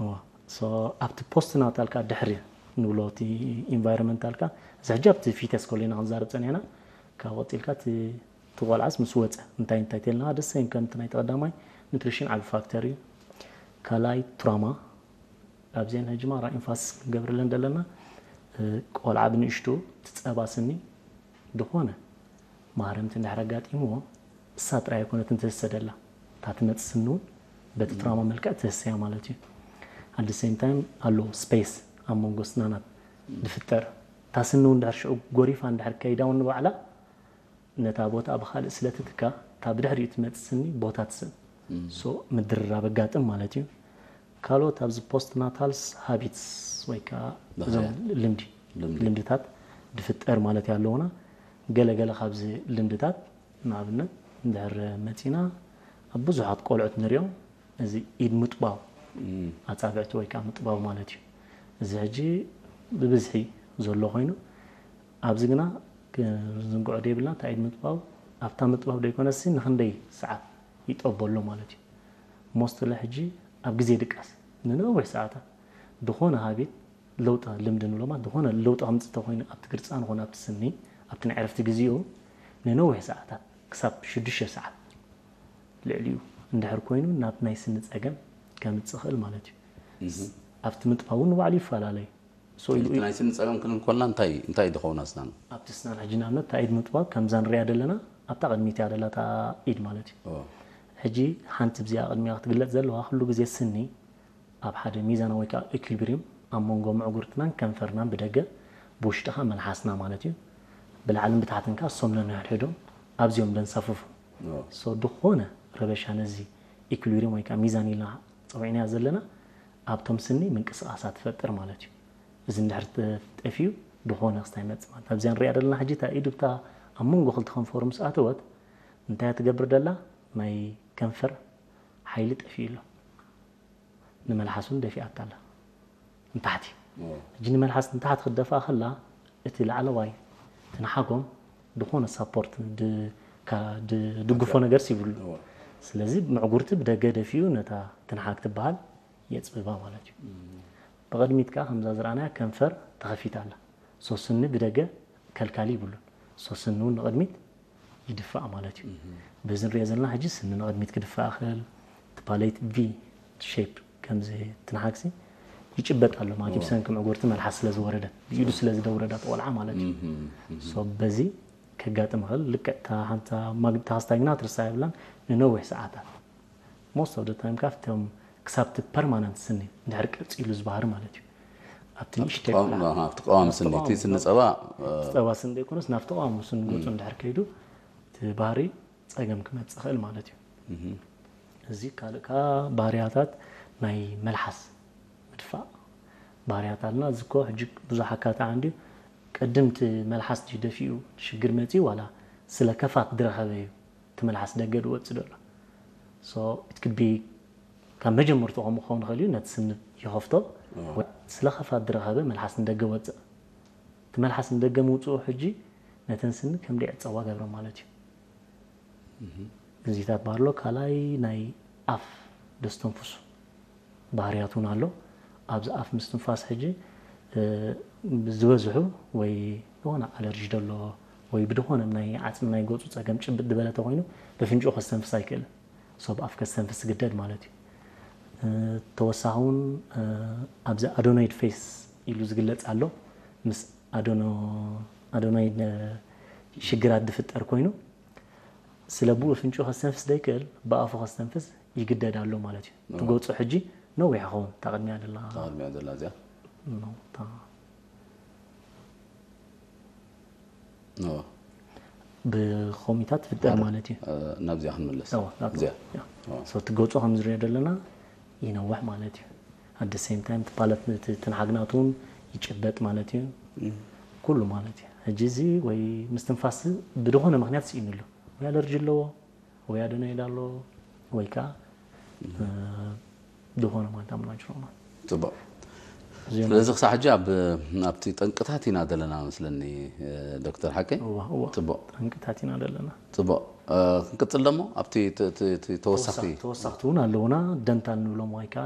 እዋ። So ኣብቲ ፖስት ናታል ከኣ ድሕሪ ንብሎ እቲ ኢንቫይሮንመንታል ከኣ እዚ ሕጂ ኣብቲ ፊተስ ኮሌና ክንዛረብ ጸኒሕና። ካብ ቀጺልካ እቲ እቲ ቆልዓስ ምስ ወጸ እንታይ እንታይ ተልና ደስ ይን ከምቲ ናይ ተቐዳማይ ኑትሪሽን ዓቢ ፋክተር እዩ። ካልኣይ ትራማ ኣብዚአን ሕጂ ማራ ኢንፋስ ክንገብርለን ዘለና። ቆልዓ ብንእሽቱ ትጸባ ስኒ ዝኾነ ማህረምቲ እንድሕር ኣጋጢምዎ እሳ ጥራይ ኣይኮነትን ትህሰደላ፣ እታ ትመጽእ ስኒ እውን በቲ ትራማ መልክዕ ትህሰያ ማለት እዩ። ኣት ሴም ታይም ኣሎ ስፔስ ኣብ መንጎ ስናናት ዝፍጠር፣ እታ ስኒ እውን ድሕር ሽዑ ጎሪፋ እንድሕር ከይዳ እውን ንባዕላ ነታ ቦታ ብኻልእ ስለ ትትካ እታ ብድሕሪኡ ትመጽእ ስኒ ቦታ ትስእን። ሶ ምድርራብ ኣጋጥም ማለት እዩ። ካልኦት ኣብዚ ፖስት ናታልስ ሃቢትስ ወይ ከዓ እዞም ልምዲ ልምድታት ድፍጠር ማለት ኣለውና። ገለገለ ካብዚ ልምድታት ንኣብነት እንድሕር መፂና ኣብ ብዙሓት ቆልዑት ንሪኦም እዚ ኢድ ምጥባው ኣፃብዕቲ ወይ ከዓ ምጥባው ማለት እዩ። እዚ ሕጂ ብብዝሒ ዘሎ ኮይኑ ኣብዚ ግና ክንዝንግዖ ደይብልና እታ ኢድ ምጥባው ኣብታ ምጥባው ደይኮነሲ ንክንደይ ሰዓት ይጠበሎ ማለት እዩ። ሞስትሊ ሕጂ ኣብ ግዜ ድቃስ ንነዊሕ ሰዓታት ዝኾነ ሃቢት ለውጢ ልምዲ ንብሎማ ዝኾነ ለውጢ ከምፅእ ተኮይኑ ኣብቲ ግርፃን ኾነ ኣብቲ ስኒ ኣብቲ ናይ ዕረፍቲ ግዜኡ ንነዊሕ ሰዓታት ክሳብ ሽዱሽተ ሰዓት ልዕሊኡ እንድሕር ኮይኑ ናብ ናይ ስኒ ፀገም ከምፅእ ይኽእል ማለት እዩ። ኣብቲ ምጥባው ንባዕሉ ይፈላለዩ። እቲ ናይ ስኒ ፀገም ክንብል ከለና እንታይ እንታይ ድኸውን ኣስናን? ኣብቲ ስናን ሕጂ ንኣብነት እታ ኢድ ምጥባብ ከምዛ ንሪኣ ዘለና ኣብታ ቅድሚት እያ ደላ እታ ኢድ ማለት እዩ። ሕጂ ሓንቲ ብዚኣ ቅድሚያ ክትግለፅ ዘለዋ ኩሉ ግዜ ስኒ ኣብ ሓደ ሚዛናዊ ወይ ከዓ ኢኩሊብሪየም ኣብ መንጎ ምዕጉርትናን ከንፈርናን ብደገ ብውሽጢ ከዓ መልሓስና ማለት እዩ። ብላዕልን ብታሕትን ከዓ እሶም ነንሕድሕዶም ኣብዚኦም ደንሳፍፉ። ሶ ዝኾነ ረበሻ ነዚ ኢኩሊብሪየም ወይ ከዓ ሚዛን ኢልና ፀዊዕናያ ዘለና ኣብቶም ስኒ ምንቅስቃሳት ትፈጥር ማለት እዩ። እዚ እንድሕር ጠፊኡ ዝኾነ ክስታይ ይመፅእ ማለት ኣብዚኣ ንሪኣ ዘለና ሕጂ እታ ኢዱ ብታ ኣብ መንጎ ክልተ ከንፈሩ ምስ ኣተወት እንታይ ትገብር ደላ ናይ ከንፈር ሓይሊ ጠፊኡ ኣሎ። ንመልሓስ እውን ደፊኣታ ኣላ ንታሕቲ። ሕጂ ንመልሓስ ንታሕቲ ክትደፍኣ ከላ እቲ ላዕለዋይ ትንሓጎም ዝኾነ ሳፖርት ድድግፎ ነገር ሲብሉ። ስለዚ ምዕጉርቲ ብደገ ደፊኡ ነታ ትንሓግ ትበሃል የፅብባ ማለት እዩ። ብቕድሚት ከዓ ከምዛ ዝረኣናያ ከንፈር ተኸፊታ ኣላ። ሶስኒ ብደገ ከልካሊ ይብሉን። ሶስኒ እውን ንቕድሚት ይድፋእ ማለት እዩ። በዚ ንሪኦ ዘለና ሕጂ ስኒ ንቕድሚት ክድፋእ ይኽእል። እቲ ፓሌት ቪ ሼፕ ከምዚ ትንሓግሲ ይጭበጥ ኣሎ ማለት እዩ። ብሰንኪ ምዕጉርቲ መልሓስ ስለ ዝወረደ ብኢዱ ስለ ዝደውረዳ ቆልዓ ማለት እዩ። ሶ በዚ ከጋጥም ይኽእል። ልክዕ እታ ሓንታ ማግብታ ክስታይ ግና ትርሳ የብላን ንነዊሕ ሰዓታት most of the time ካብቶም ክሳብ እቲ ፐርማነንት ስኒ እንድሕር ቀፂሉ ዝበሃር ማለት እዩ። ኣብቲ ንእሽተይ ቆም- ቆልዓ- ኣብቲ ቀዋሚ ስኒ እቲ ስኒ ፀባ ፀባ ስኒ ዘይኮነስ ናብቲ ቀዋሚ ስኒ ገፁ እንድሕር ከይዱ እቲ ባህሪ ፀገም ክመፅእ ይኽእል ማለት እዩ። እዚ ካልእ ከዓ ባህርያታት ናይ መልሓስ ምድፋእ ባህርያት ኣለና። እዚ እኮ ሕጂ ብዙሕ ኣካታዕ እንድዩ ቅድም እቲ መልሓስ ድዩ ደፊኡ ሽግር መፅኡ ዋላ ስለ ከፋት ዝረኸበ እዩ እቲ መልሓስ ደገ ዝወፅእ ዘሎ። So it could be ካብ መጀመርቱ ከም ክኸውን ይኽእል እዩ ነቲ ስኒ ይኸፍቶ። ስለ ከፋት ዝረኸበ መልሓስ ንደገ ወፅእ። እቲ መልሓስ ንደገ ምውፅኡ ሕጂ ነተን ስኒ ከም ደይዕፀዋ ገብረ ማለት እዩ። እዚታት ባህርሎ ካልኣይ ናይ ኣፍ ደስተንፍሱ ባህርያት እውን ኣሎ። ኣብዚ ኣፍ ምስትንፋስ ሕጂ ዝበዝሑ ወይ ዝኾነ ኣለርጂ ደሎ ወይ ብድኾነ ናይ ዓፅሚ ናይ ገፁ ፀገም ጭብጥ ዝበለ ተኮይኑ ብፍንጭኡ ከስተንፍስ ኣይክእልን። ሶብ ኣፍ ከስተንፍስ ግደድ ማለት እዩ። ተወሳኺ እውን ኣብዚ ኣዶኖይድ ፌስ ኢሉ ዝግለፅ ኣሎ። ምስ ኣዶኖይድ ሽግራት ዝፍጠር ኮይኑ ስለ ብኡ ፍንጩ ከስተንፍስ ዘይክእል ብኣፉ ከስተንፍስ ይግደድ ኣሎ ማለት እዩ። ትጎፁ ሕጂ ነዊሕ ኸውን እታ ቅድሚያ ደላ ቅድሚያ ዘላ እዚኣ ብኮሚታት ትፍጠር ማለት እዩ። ናብዚኣ ክንምለስ ትገፁ ከም ዝሪኦ ዘለና ይነውሕ ማለት እዩ። ኣደ ሴም ታይም ትፓለት ትንሓግናት እውን ይጭበጥ ማለት እዩ። ኩሉ ማለት እዩ። ሕጂ እዚ ወይ ምስትንፋስ ብድኾነ ምክንያት ስኢኑ ኣሎ ወይ ኣለርጂ ኣለዎ ወይ ኣደኖይድ ኣለዎ ወይ ከዓ ዝኾነ ማለት ኣብ ናጅሮማ ፅቡቅ። ስለዚ ክሳብ ሕጂ ኣብቲ ጠንቅታት ኢና ዘለና መስለኒ ዶክተር ሓቀይ። ፅቡቅ ጠንቅታት ኢና ዘለና። ፅቡቅ። ክንቅፅል ደሞ ኣብቲ ተወሳኺ ተወሳኽቲ እውን ኣለውና ደንታል ንብሎም ወይ ከዓ